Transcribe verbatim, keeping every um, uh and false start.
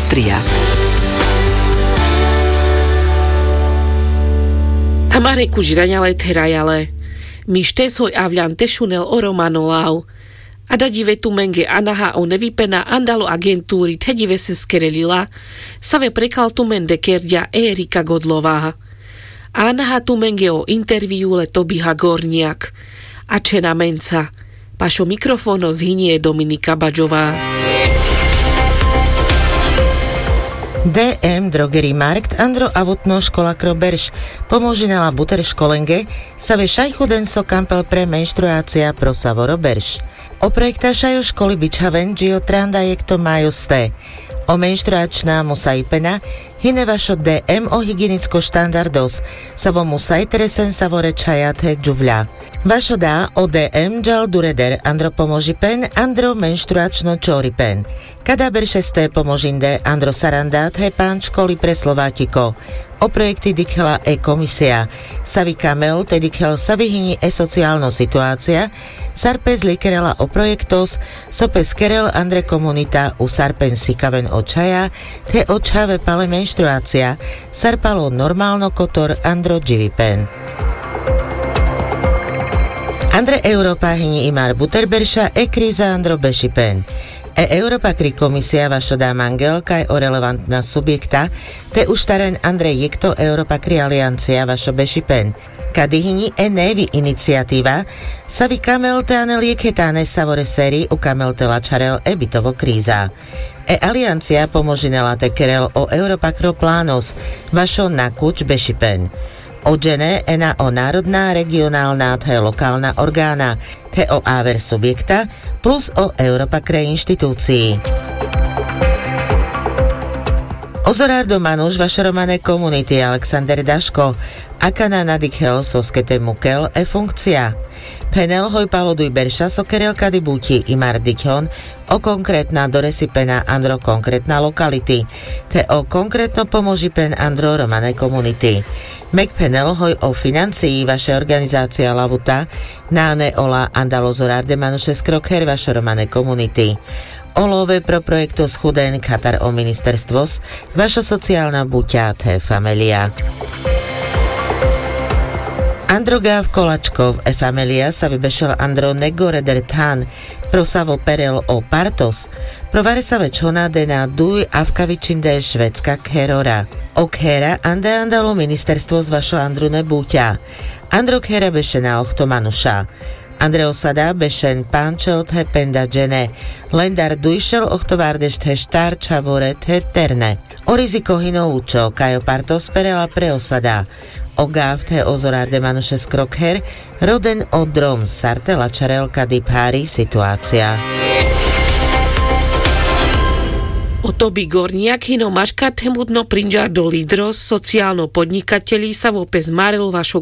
Tria. Amare kužiraňa le therajale. Mište soj avľan te šunel o romanolau. Ada dive tumenge anaha o nevipena andalo agenturi the dive seskerelila. Save prekal tumende kerďa erika godlova. Anaha tumenge o interviu le tobiha gorňiak. A čhena menca. Pašo mikrofono zhinie dominika baďova. Dm drogeri markt andro avotno škola kro berš. Pomožinela buter školenge. Save šaj chuden so kampel pre menštruácia pro savoro berš. O projekta šajo školi bičhaven dži o tranda jekto majo ste. O menštruačná musaipena hine vašo dm o hygienicko štandardos. Savo musaj tresen savore čhaja the džuvľa. Vašo da o dm džal dureder andro pomožipen andro menštruačno čoripen. Kada berše ste pomožinde andro saranda the panč školi pre slovačiko. O projekti dikhela e komisia. Savi kamel te dikhel savi hini e socialno situácia. Sar pes likerela o projektos so pes kerel andre komunita u sar pen sikaven o čhaja the o čhave pale menštruácia. Sar palo normalno kotor andro dživipen. Andre europa hini imar buter berša e kriza andro bešipen. E europa kri komisia vašo da mangel kaj o relevantna subjekta te uštaren andre jekto europa kri aliancia vašo bešipen. Kadi hini e nevi iniciativa savi kamel te anel jekhe tane savore seri u kamel te lačharel e bitovo kriza. E aliancia pomožinela te kerel o europa kro planos vašo nakuč bešipen. O džene ena o narodna regionalna the lokalna organa the o aver subjekta plus o europa kre inštitucii. Ozorardo manuš vašo romane komuniti aleksander daško akana nadikhel soske te mukel e funkcia. Phenel hoj palo duj berša so kerel kadi buči imar dikhon o konkretna doresipena andro konkretna lokaliti the o konkretno pomožipen andro romane komuniti. Mek phenel hoj o financii vaše organizacija lavuta nane ola andalo zorarde manuše skrokher vašo romane komuniti. Olove pro projekto schuden katar o ministerstvos vašo socijalna buča the familija. Andro gav kolačkov e familija savi bešel andro negore derthan prosavo perel o partos. Provare save čhona dena duj avkavičinde švedska kherora. O khera ande andalo ministerstvos vašo andrune buča. Andro khera bešena ohto manuša. Andre osada bešen pančel the penda džene. Lendar dujšel ohtovardeš the štar čhavore the terne. O riziko hino učo kaj o partos perela pre osada. O gav the ozorarde manuše skrokher roden o drom sar te lačharel kadi phari situacija. O tobi gorňiak hino maška themudno prinžardo lidros socijalno podnikateli savo pes marel vašo